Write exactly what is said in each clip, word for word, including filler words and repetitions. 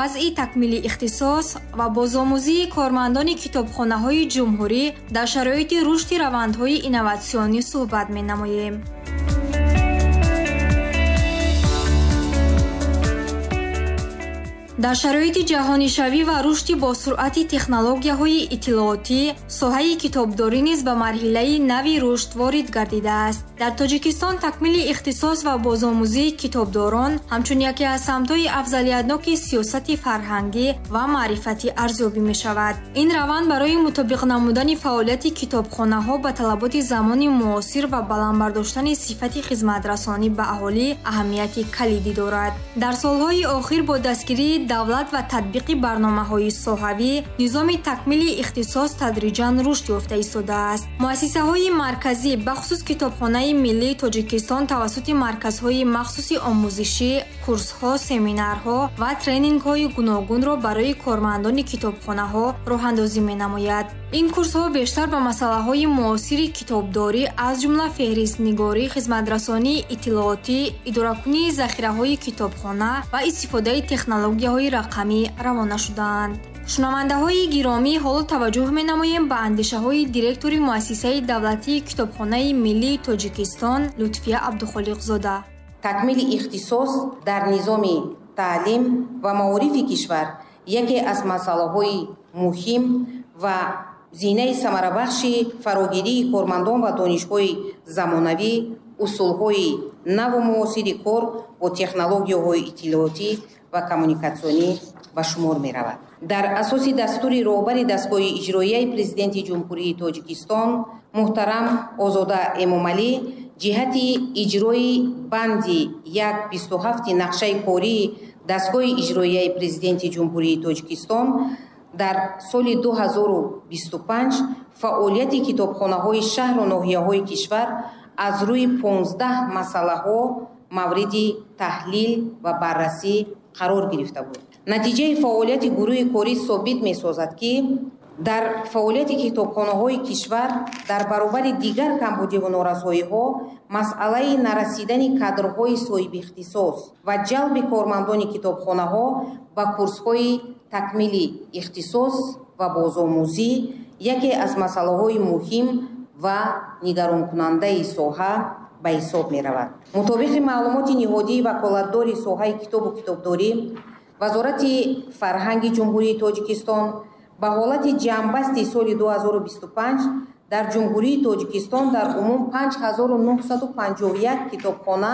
Вазъи такмили ихтисос ва бозомӯзии кормандони китобхонаҳои ҷумҳурӣ дар шароити рушди равандҳои инноватсионӣ суҳбат менамоем. Дар шароити ҷаҳонишавӣ ва рушди босуръати технологияҳои иттилоотӣ, соҳаи китобдорӣ низ ба марҳилаи нави рушд ворид гардидааст. Дар Тоҷикистон такмили ихтисос ва бозомӯзии китобдорон ҳамчун яке аз самтҳои афзалиятноки сиёсати фарҳангӣ ва маърифатӣ арзёбӣ мешавад. Ин раванд барои мутобиқ намудани фаъолияти китобхонаҳо ба талаботи замони муосир ва баланд бардоштани сифати хизматрасонӣ ба аҳолӣ аҳамияти калидӣ дорад. Дар солҳои охир бо дастгирии давлат ва татбиқи барномаҳои соҳавӣ низоми такмили ихтисос тадриҷан рушд ёфта истодааст. Муассисаҳои марказӣ, бахусус Китобхонаи миллии Тоҷикистон, тавассути марказҳои махсуси омӯзишӣ, курсҳо, семинарҳо ва тренингҳои гуногунро барои кормандони китобхонаҳо роҳандозӣ менамояд. Ин курсҳо бештар ба масъалаҳои муосири китобдорӣ, аз ҷумла феҳристнигорӣ, хизматрасонии иттилоотӣ, идоракунии захираҳои китобхона ва истифодаи технологияҳои рақамӣ равона шудаанд. Шунавандаҳои гиромӣ, ҳоло таваҷҷӯҳ менамоем ба андешаҳои директори муассисаи давлатии Китобхонаи миллии Тоҷикистон Лутфия Абдухолиқзода. Такмили ихтисос дар низоми таълим ва маорифи кишвар яке аз масъалаҳои муҳим ва зинаи самарабахши фарогирии кормандон ва донишҳои замонавӣ, усулҳои наву муосири кор бо технологияҳои иттилоотӣ ва коммуникатсионӣ ба шумор меравад. Дар асоси дастури роҳбари дастгоҳи иҷроияи Президенти Ҷумҳурии Тоҷикистон муҳтарам Озода Эмомалӣ ҷиҳати иҷрои банди як бисту ҳафти нақшаи кории дастгоҳи иҷроияи Президенти Ҷумҳурии Тоҷикистон дар соли ду ҳазору бисту панҷ фаъолияти китобхонаҳои шаҳру ноҳияҳои кишвар аз рӯи понздаҳ масъалаҳо мавриди таҳлил ва баррасӣ қарор гирифта буд. Натиҷаи фаъолияти гурӯҳи корӣ собит месозад, ки дар фаъолияти китобхонаҳои кишвар дар баробари дигар камбудиву норасоиҳо масъалаи нарасидани кадрҳои соҳибихтисос ва ҷалби кормандони китобхонаҳо ба курсҳои такмили ихтисос ва бозомӯзӣ яке аз масъалаҳои муҳим ва нигаронкунандаи соҳа ба ҳисоб меравад. Мутобиқи маълумоти ниҳодии ваколатдори соҳаи китобу китобдорӣ, Вазорати фарҳанги Ҷумҳурии Тоҷикистон ба ҳолати ҷамъбасти соли ду ҳазору бисту панҷ дар Ҷумҳурии Тоҷикистон дар умум панҷ ҳазору нӯҳсаду панҷоҳу як китобхона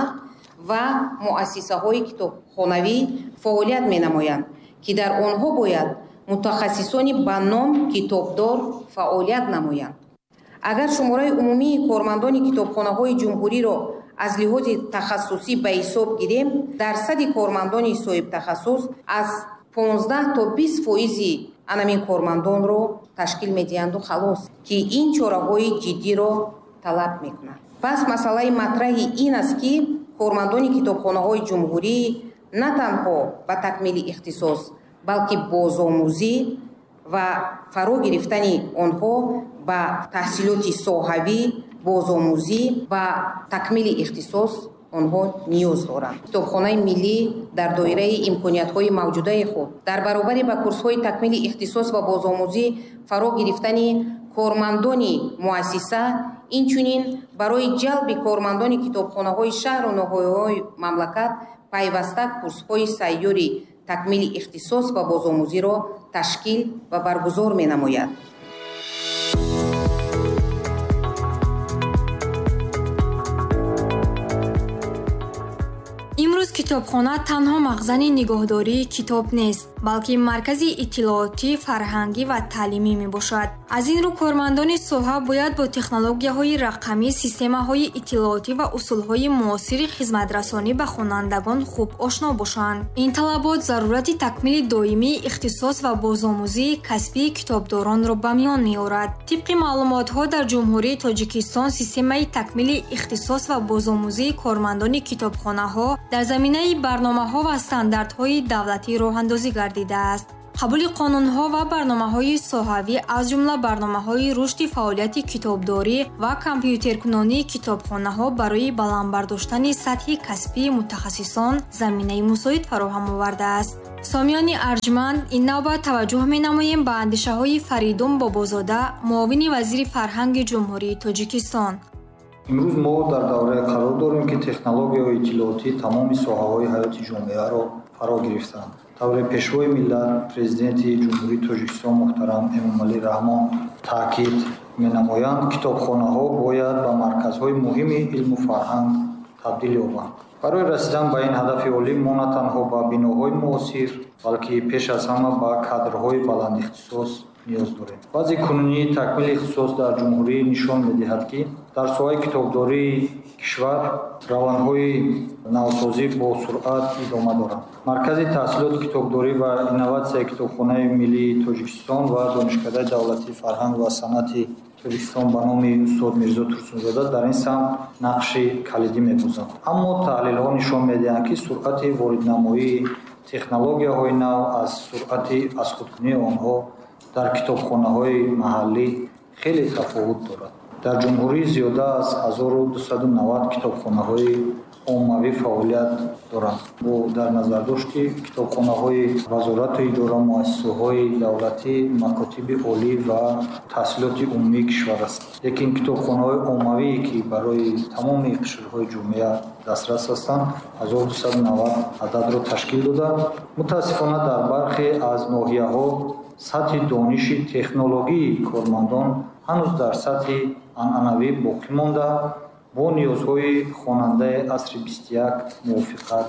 ва муассисаҳои китобхонавӣ фаъолият менамоянд, ки дар онҳо бояд мутахассисони ба ном китобдор фаъолият намоянд. Агар шумораи умумии кормандони китобхонаҳои ҷумҳуриро аз лиҳози тахассусӣ ба ҳисоб гирем, дарсади кормандони соҳибтахассус аз понздаҳ то бист фоизи анамин кормандонро ташкил медиҳанду халос, ки ин чораҳои ҷиддиро талаб мекунад. Пас масъалаи матраҳи ин аст, ки кормандони китобхонаҳои ҷумҳурӣ на танҳо ба такмили ихтисос, балки бозомӯзӣ ва фаро гирифтани онҳо ба таҳсилоти соҳавӣ, бозомӯзӣ ва такмили ихтисос онҳо ниёз доранд. Китобхонаи миллӣ дар доираи имкониятҳои мавҷудаи худ дар баробари ба курсҳои такмили ихтисос ва бозомӯзӣ фаро гирифтани кормандони муассиса, инчунин барои ҷалби кормандони китобхонаҳои шаҳру ноҳияҳои мамлакат пайваста курсҳои сайёри такмили ихтисос ва бозомӯзиро ташкил ва баргузор менамояд. Имрӯз китобхона танҳо мағзани нигоҳдории китоб нест, балки маркази иттилоотӣ, фарҳангӣ ва таълимӣ мебошад. Аз ин рӯ кормандони соҳа бояд бо технологияҳои рақамӣ, системаҳои иттилоотӣ ва усулҳои муосири хизматрасонӣ ба хонандагон хуб ошно бошанд. Ин талабот зарурати такмили доимии ихтисос ва бозомӯзии касбии китобдоронро ба миён меорад. Тибқи маълумотҳо, дар Ҷумҳурии Тоҷикистон системаи такмили ихтисос ва бозомӯзии кормандони китобхонаҳо дар заминаи барномаҳо ва стандартҳои давлатӣ роҳандозӣ гардидааст. Қабули қонунҳо ва барномаҳои соҳавӣ, аз ҷумла барномаҳои рушди фаъолияти китобдорӣ ва компютеркунонии китобхонаҳо барои баланд бардоштани сатҳи касбии мутахассисон заминаи мусоид фароҳам овардааст. Сомиёни арҷманд, ин навбат таваҷҷӯҳ менамоем ба андешаҳои Фаридун Бобозода, муовини вазири фарҳанги Ҷумҳурии Тоҷикистон. Имрӯз мо дар даврае қарор дорем, ки технологияҳои иттилоотӣ тамоми соҳаҳои ҳаёти ҷомеаро фаро гирифтанд. Тавре Пешвои миллат, Президенти Ҷумҳурии Тоҷикистон муҳтарам Эмомалӣ Раҳмон таъкид менамоянд, китобхонаҳо бояд ба марказҳои муҳими илму фарҳанг табдил ёбанд. Барои расидан ба ин ҳадафи олӣ мо на танҳо ба биноҳои муосир, балки пеш аз ҳама ба кадрҳои баландихтисос ниёз дорем. Вазъи кунунии такмили ихтисос дар ҷумҳурӣ нишон медиҳад, ки дар соҳаи китобдории кишвар равандҳои навсозӣ бо суръат идома доранд. Маркази таҳсилоти китобдорӣ ва инноватсияи Китобхонаи миллии Тоҷикистон ва Донишкадаи давлатии фарҳанг ва санъати Тоҷикистон ба номи устод Мирзо Турсунзода дар ин самт нақши калидӣ мебозанд. Аммо таҳлилҳо нишон медиҳанд, ки суръати вориднамоии технологияҳои нав аз суръати азхудкунии онҳо дар китобхонаҳои маҳаллӣ хеле тафовут дорад. Дар ҷумҳурӣ зиёда аз ҳазору дусаду навад китобхонаҳои оммавӣ фаъолият доранд. Бо дар назардошти китобхонаҳои вазорату идора, муассисаҳои давлатӣ, макотиби олӣ ва таҳсилоти умумии кишвар аст. Лекин китобхонаҳои оммавие, ки барои тамоми қишрҳои ҷомеа дастрас ҳастанд, ҳазору дусаду навад ададро ташкил дода. Мутаассифона, дар бархе аз ноҳияҳо сатҳи дониши технологии кормандон ҳанӯз дар сатҳи анъанавӣ боқӣ монда, бо ниёзҳои хонандаи асри бисту як мувофиқат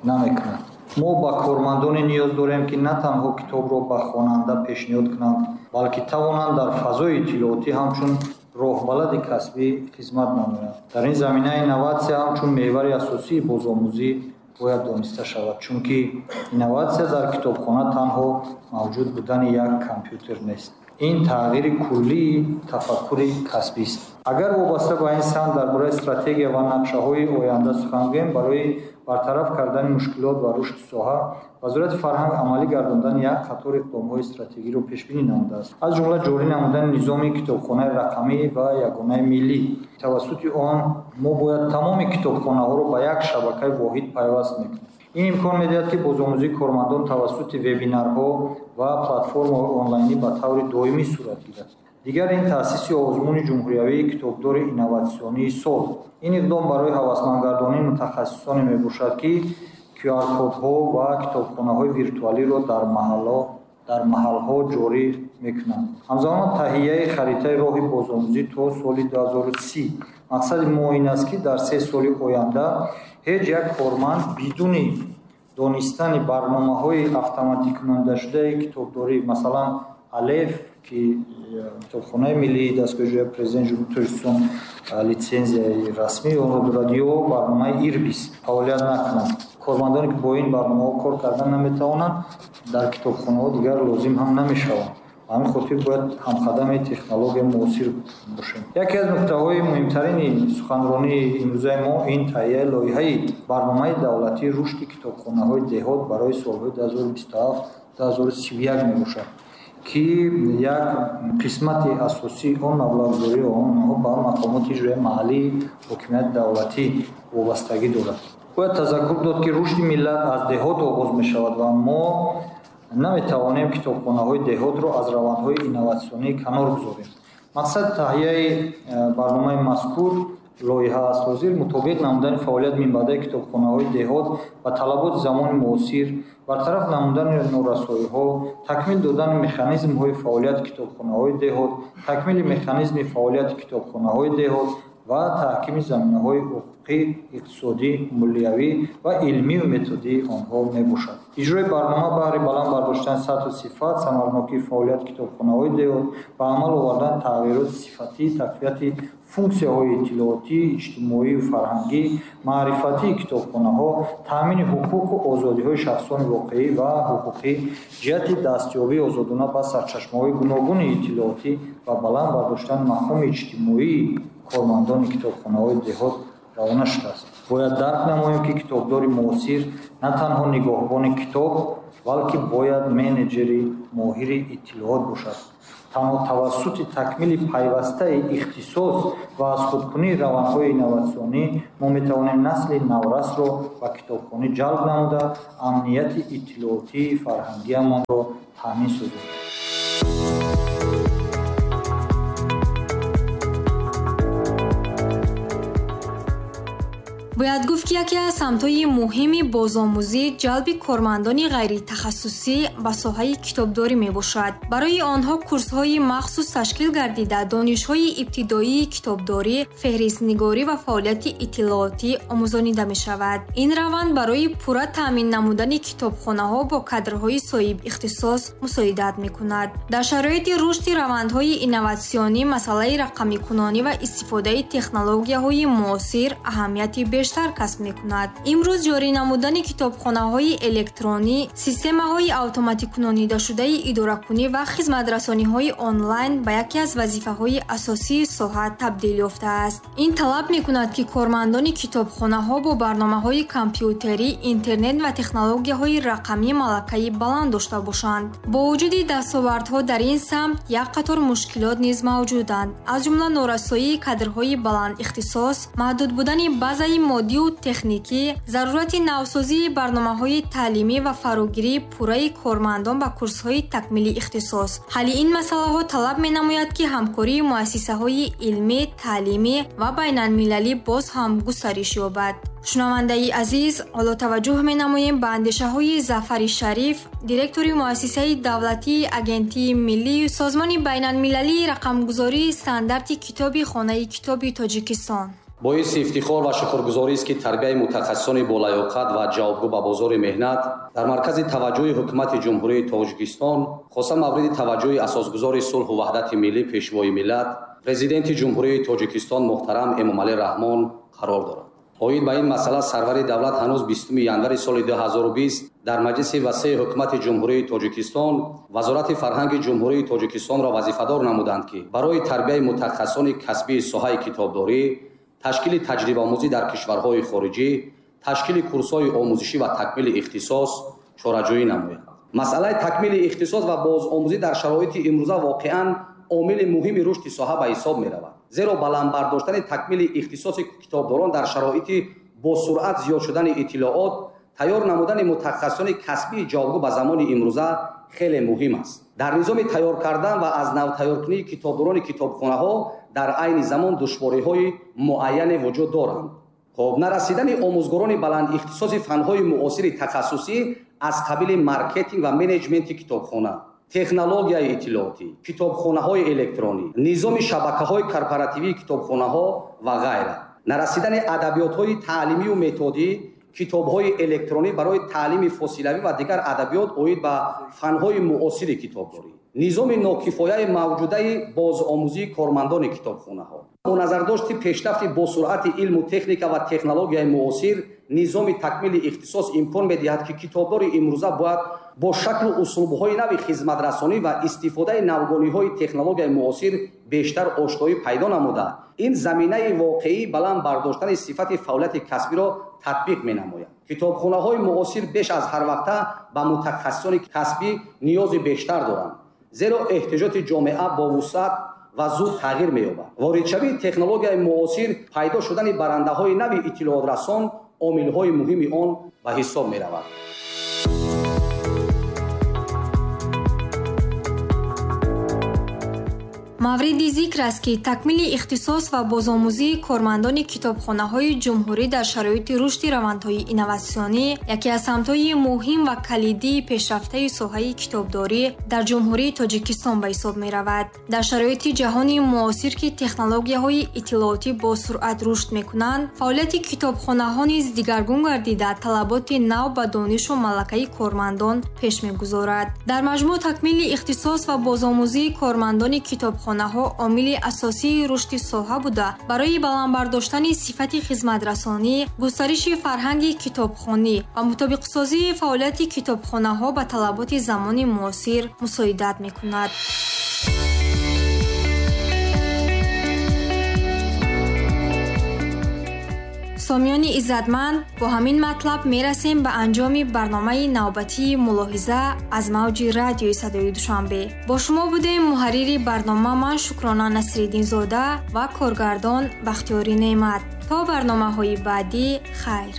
намекунад. Мо ба кормандоне ниёз дорем, ки на танҳо китобро ба хонанда пешниҳод кунанд, балки тавонанд дар фазои иттилоотӣ ҳамчун роҳбалади касбӣ хизмат намоянд. Дар ин замина инноватсия ҳамчун меҳвари асосии бозомӯзӣ бояд дониста шавад, чунки инноватсия дар китобхона танҳо мавҷуд будани як компютер нест. Ин тағйири куллии тафаккури касбист. Агар вобаста ба ин самт дар бораи стратегия ва нақшаҳои оянда сухан гӯем, барои бартараф кардани мушкилот ва рушди соҳа Вазорати фарҳанг амалӣ гардондани як қатор иқдомҳои стратегиро пешбинӣ намудааст, аз ҷумла ҷорӣ намудани низоми китобхонаи рақамӣ ва ягонаи миллӣ. Тавассути он мо бояд тамоми китобхонаҳоро ба як шабакаи воҳид пайваст мекунем. Ин имкон медиҳад, ки бозомӯзии кормандон тавассути вебинарҳо ва платформаҳои онлайнӣ ба таври доимӣ сурат гирад. Дигар ин таъсиси озмуни ҷумҳуриявии китобдори инноватсионии сол. Ин иқдом барои ҳавасмандгардонии мутахассисоне мебошад, ки Q R кодҳо ва китобхонаҳои виртуалиро дар маҳалло дар маҳалҳо ҷорӣ мекунанд. Ҳамзамон таҳияи харитаи роҳи бозомӯзӣ то соли ду ҳазору си. Мақсади мо ин аст, ки дар се соли оянда ҳеҷ як корманд бидуни донистани барномаҳои автоматикунандашудаи китобдорӣ, масалан Алеф, ки Китобхонаи миллии дастгоҳи иҷроияи Президенти Ҷумҳурии Тоҷикистон литсензияи расмии онро дорад, ё барномаи Ирбис фаъолият накунанд. Кормандоне, ки бо ин барномаҳо кор кардан наметавонанд, дар китобхонаҳо дигар лозим ҳам намешаванд. Ба ҳамин хотир бояд ҳамқадами технологияи муосир бошем. Яке аз нуктаҳои муҳимтарини суханронии имрӯзаи мо ин таҳияи лоиҳаи барномаи давлатии рушди китобхонаҳои деҳот барои солҳои ду ҳазору бисту ҳафт ду ҳазору сию як мебошад, ки як қисмати асосии он маблағгузории онҳо ба мақомоти иҷроияи маҳаллии ҳокимияти давлатӣ вобастагӣ дорад. Бояд тазаккур дод, ки рушди миллат аз деҳот оғоз мешавад ва мо наметавонем китобхонаҳои деҳотро аз равандҳои инноватсионӣ канор гузорем. Мақсади таҳияи барномаи мазкур лоиҳа аст ҳозир мутобиқ намудани фаъолият минбаъдаи китобхонаҳои деҳот ба талаботи замони муосир, бартараф намудани норасоиҳо, такмил додани механизмҳои фаъолияти китобхонаҳои деҳот, такмили механизми фаъолияти китобхонаҳои деҳот ва таҳкими заминаҳои ҳуқуқӣ, иқтисодӣ, молиявӣ ва илмию методии онҳо мебошад. Иҷрои барнома баҳри баланд бардоштани сатҳу сифат, самарнокии фаъолияти китобхонаҳои деҳот, ба амал овардани тағйироти сифатӣ, тақвияти функсияҳои иттилоотӣ, иҷтимоию фарҳангӣ, маърифатии китобхонаҳо, таъмини ҳуқуқу озодиҳои шахсони воқеӣ ва ҳуқуқӣ ҷиҳати дастёбии озодона ба сарчашмаҳои гуногуни иттилоотӣ ва баланд бардоштани мақоми иҷтимоии кормандони китобхонаҳои деҳот равона шудааст. Бояд дарк намоем, ки китобдори муосир на танҳо нигоҳбони китоб, балки бояд менеҷери моҳири иттилоот бошад. Танҳо тавассути такмили пайвастаи ихтисос ва аз худкунии равандҳои инноватсионӣ мо метавонем насли наврасро ба китобхонӣ ҷалб намуда, амнияти иттилоотии фарҳангиамонро таъмин созем. Бояд гуфт, ки яке аз самтҳои муҳими бозомӯзӣ ҷалби кормандони ғайритахассусӣ ба соҳаи китобдорӣ мебошад. Барои онҳо курсҳои махсус ташкил гардида, донишҳои ибтидоии китобдорӣ, феҳристнигорӣ ва фаъолияти иттилоотӣ омӯзонида мешавад. Ин раванд барои пурра таъмин намудани китобхонаҳо бо кадрҳои соҳибихтисос мусоидат мекунад. Дар шароити рушди равандҳои инноватсионӣ масъалаи рақамикунонӣ ва истифодаи технологияҳои муосир аҳамияти бештар касб мекунад. Имрӯз ҷорӣ намудани китобхонаҳои электронӣ, системаҳои автоматикунонидашудаи идоракунӣ ва хизматрасониҳои онлайн ба яке аз вазифаҳои асосии соҳа табдил ёфтааст. Ин талаб мекунад, ки кормандони китобхонаҳо бо барномаҳои компютерӣ, интернет ва технологияҳои рақамӣ малакаи баланд дошта бошанд. Бо вуҷуди дастовардҳо дар ин самт як қатор мушкилот низ мавҷуданд, аз ҷумла норасоии кадрҳои баландихтисос, маҳдуд будани базаи моддию техникӣ, зарурати навсозии барномаҳои таълимӣ ва фарогирии пурраи кормандон ба курсҳои такмили ихтисос. Ҳалли ин масъалаҳо талаб менамояд, ки ҳамкории муассисаҳои илмӣ, таълимӣ ва байналмилалӣ боз ҳам густариш ёбад. Шунавандаи азиз, ҳоло таваҷҷӯҳ менамоем ба андешаҳои Зафари Шариф, директори муассисаи давлатии Агентии миллии Созмони байналмилалии рақамгузории стандарти китоби Хонаи китоби Тоҷикистон. Боиси ифтихор ва шукргузорист, ки тарбияи мутахассисони болаёқат ва ҷавобгӯ ба бозори меҳнат дар маркази таваҷҷӯҳи ҳукумати Ҷумҳурии Тоҷикистон, хоса мавриди таваҷҷӯҳи асосгузори сулҳу ваҳдати миллӣ, пешвои миллат, Президенти Ҷумҳурии Тоҷикистон муҳтарам Эмомалӣ Раҳмон қарор дорад. Оид ба ин масъала сарвари давлат ҳанӯз бистуми январи соли ду ҳазору бист дар Маҷлиси васеи ҳукумати Ҷумҳурии Тоҷикистон Вазорати фарҳанги Ҷумҳурии Тоҷикистонро вазифадор намуданд, ки барои тарбияи мутахассисони касбии соҳаи китобдорӣ, ташкили таҷрибаомӯзӣ дар кишварҳои хориҷӣ, ташкили курсҳои омӯзишӣ ва такмили ихтисос чораҷӯӣ намояд. Масъалаи такмили ихтисос ва бозомӯзӣ дар шароити имрӯза воқеан омили муҳими рушди соҳа ба ҳисоб меравад. Зеро баланд бардоштани такмили ихтисоси китобдорон дар шароити бо суръат зиёд шудани иттилоот, тайёр намудани мутахассисони касбии ҷавобгӯ ба замони имрӯза хеле муҳим аст. Дар низоми тайёр кардан ва аз нав тайёркунии китобдорони китобхонаҳо дар айни замон душвориҳои муайяне вуҷуд доранд. Хоб, нарасидани омӯзгорони баландихтисоси фанҳои муосири тахассусӣ аз қабили маркетинг ва менеҷменти китобхона, технологияи иттилоотӣ, китобхонаҳои электронӣ, низоми шабакаҳои корпоративии китобхонаҳо ва ғайра. Нарасидани адабиётҳои таълимию методӣ, китобҳои электронӣ барои таълими фосилавӣ ва дигар адабиёт оид ба фанҳои муосири китобдорӣ, низоми нокифояи мавҷудаи бозомӯзии кормандони китобхонаҳо. Бо назардошти пешрафти босуръати илму техника ва технологияи муосир, низоми такмили ихтисос имкон медиҳад, ки китобдори имрӯза бояд бо шаклу услубҳои нави хизматрасонӣ ва истифодаи навгониҳои технологияи муосир бештар ошноӣ пайдо намуда, ин заминаи воқеии баланд бардоштани сифати фаъолияти касбиро татбиқ менамояд. Китобхонаҳои муосир беш аз ҳар вақта ба мутахассисони касбӣ ниёзи бештар доранд, зеро эҳтиёҷоти ҷомеа бо вусъат ва зуд тағйир меёбад. Воридшавии технологияи муосир, пайдо шудани барандаҳои нави иттилоотрасон омилҳои муҳими он ба ҳисоб меравад. Мавриди зикр аст, ки такмили ихтисос ва бозомӯзии кормандони китобхонаҳои ҷумҳурӣ дар шароити рушди равандҳои инноватсионӣ яке аз самтҳои муҳим ва калидии пешрафтаи соҳаи китобдорӣ дар Ҷумҳурии Тоҷикистон ба ҳисоб меравад. Дар шароити ҷаҳони муосир, ки технологияҳои иттилоотӣ бо суръат рушд мекунанд, фаъолияти китобхонаҳо низ дигаргун гардида, талаботи нав ба донишу малакаи кормандон пеш мегузорад. Дар маҷмӯъ, такмили ихтисос ва бозомӯзии кормандони китобхона китобхонаҳо омили асосии рушди соҳа буда, барои баланд бардоштани сифати хизматрасонӣ, густариши фарҳанги китобхонӣ ва мутобиқсозии фаъолияти китобхонаҳо ба талаботи замони муосир мусоидат мекунад. Сомиёни иззатманд, бо ҳамин матлаб мерасем ба анҷоми барномаи навбатии мулоҳиза аз мавҷи радиои Садои Душанбе. Бо шумо будем муҳаррири барнома ман Шукрона Насриддинзода ва коргардон Бахтиёри Неъмат. То барномаҳои баъдӣ хайр.